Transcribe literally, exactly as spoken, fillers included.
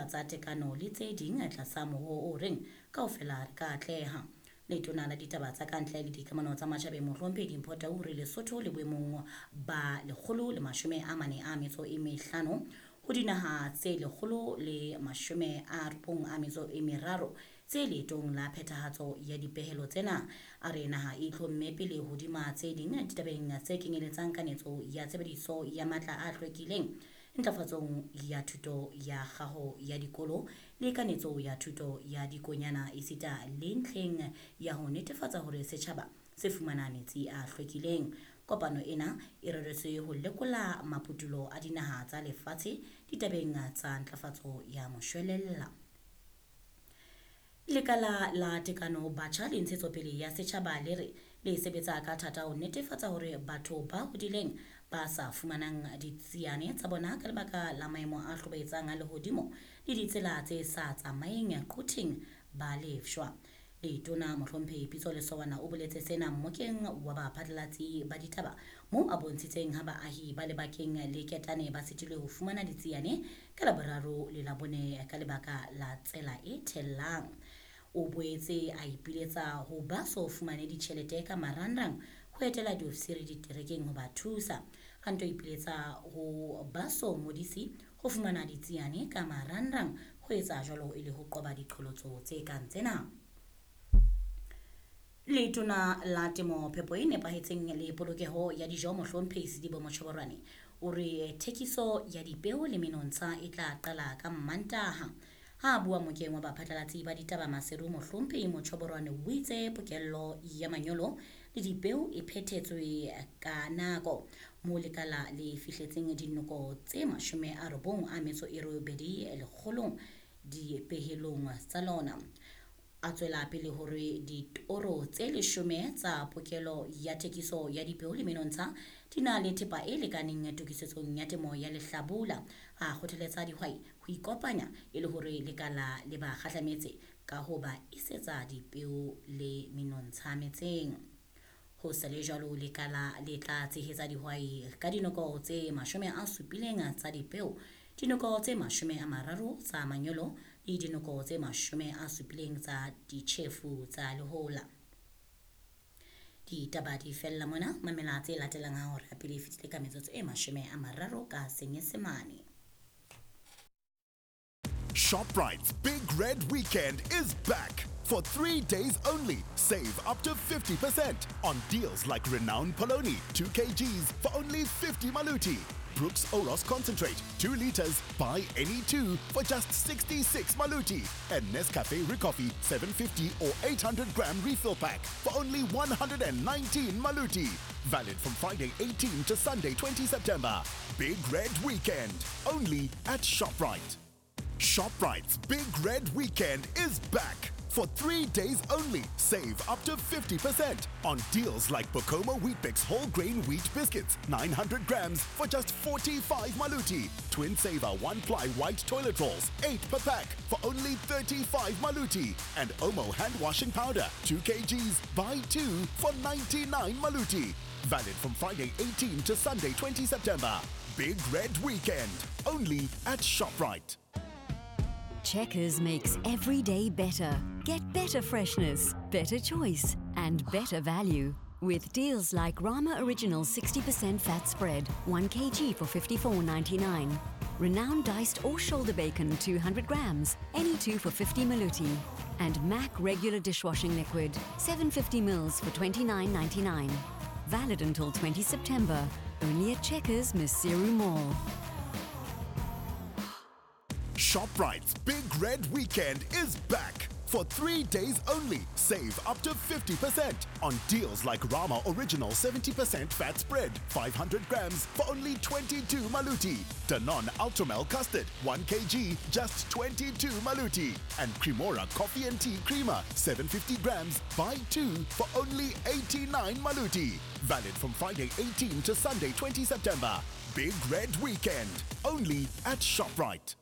tsa tekano le tse ding tlasa mohoo o reng kaofela re ka atleha. Letona la ditaba tsa kantle le dikamano tsa matjhabeng Mohlomphehi Dimpho Tau re Lesotho le boemong ba lekgolo le mashome a mane a metso e mehlano ho dinaha tse lekgolo le mashome a robong a metso e meraro tse leetong la phethahatso ya dipehelo tsena. A re naha e itlhomme pele hodima tse ding ditabeng tse kenyeletsang kanetso ya tshebediso ya matla a hlwekileng, ntlafatsong ya thuto ya kgaho ya dikolo le kanetso ya thuto ya dikonyana esita le ntlheng ya ho netefatsa hore setjhaba se fumana metsi a hlwekileng. Kopano ena e reretswe ho lekola maputulo a dinaha tsa lefatshe ditabeng tsa ntlafatso ya moshwelella. Lekala la tekano batjha le ntshetsopele ya setjhaba le re le sebetsa ka thata ho netefatsa hore batho ba hodileng ba sa fumanang ditsiane tsa bona ka lebaka la maemo a hlobaetsang a lehodimo le ditsela tse sa tsamaeng quthing ba lefshwa. Letona Mohlomphehi Pitso Lesowana o boletse sena mmokeng wa baphatlalatsi ba ditaba moo a bontshitseng ha baahi ba lebakeng le ketane ba sitilwe ho fumana ditsiane ka Laboraro le Labone ka lebaka la tsela e thellang. O boetse a ipiletsa ho ba so fumane ditjhelete ka marangrang ho etela diofisiri diterekeng ho ba thusa. A nto ipiletsa ho ba so ngodisi ho fumana ditsiane ka marangrang ho etsa jwalo e le ho qoba diqholotso tse kang tsena. Letona la temo phepo e nepahetseng le polokeho ya dijo Mohlomphehi Sedibe Mochoboroane o re thekiso ya dipeo le menontsha e tla qala ka Mmantaha. Ha a bua mokeng wa baphatlalatsi ba ditaba Maseru, Mohlomphehi Mochoboroane o itse pokello ya manyolo le dipeo e phethetswe ka nako moo lekala le fihletseng dinoko tse mashome a robong a metso e robedi lekgolong dipehelong tsa lona. A tswela pele hore ditoro tse leshome tsa pokelo ya thekiso ya dipeo le menontsha di na le thepa e lekaneng tokisetsong ya temo ya lehlabula. A kgothaletsa dihwai ho ikopanya e le hore lekala le ba kgahlametse ka ho ba isetsa dipeo le menontsha metseng. Ho sa le jwalo, lekala le tla tshehetsa dihwai ka dinoko tse mashome a supileng tsa dipeo, dinoko tse mashome a mararo tsa manyolo le dinoko tse mashome a supileng tsa ditjhefu tsa lehola. Ditaba di fella mona, mamela tse latelang ha hora pele e fetile ka metsotso e mashome a mararo ka Senyesemane. ShopRite's Big Red Weekend is back. For three days only, save up to fifty percent on deals like Renown Poloni, two kilograms for only fifty maluti. Brooks Oros Concentrate, two liters, buy any two for just sixty-six maluti. And Nescafe Ricoffy, seven fifty or eight hundred gram refill pack for only one hundred nineteen maluti. Valid from Friday eighteenth to Sunday twentieth September. Big Red Weekend, only at ShopRite. ShopRite's Big Red Weekend is back. For three days only, save up to fifty percent on deals like Bokomo Weet-Bix whole grain wheat biscuits, nine hundred grams for just forty-five maluti. Twin Saver one-ply white toilet rolls, eight per pack for only thirty-five maluti. And Omo hand washing powder, two kilograms, buy two for ninety-nine maluti. Valid from Friday eighteenth to Sunday twentieth September. Big Red Weekend, only at ShopRite. Checkers makes every day better. Get better freshness, better choice, and better value. With deals like Rama Original sixty percent fat spread, one kilogram for fifty-four ninety-nine. Renowned diced or shoulder bacon, two hundred grams, any two for fifty maluti. And Mac regular dishwashing liquid, seven fifty mils for twenty-nine ninety-nine. Valid until twentieth September. Only at Checkers, Maseru Mall. ShopRite's Big Red Weekend is back. For three days only, save up to fifty percent on deals like Rama Original seventy percent fat spread, five hundred grams for only twenty-two maluti. Danone Ultramel Custard, one kilogram, just twenty-two maluti. And Cremora Coffee and Tea Creamer, seven fifty grams, buy two for only eighty-nine maluti. Valid from Friday eighteenth to Sunday twentieth September. Big Red Weekend, only at ShopRite.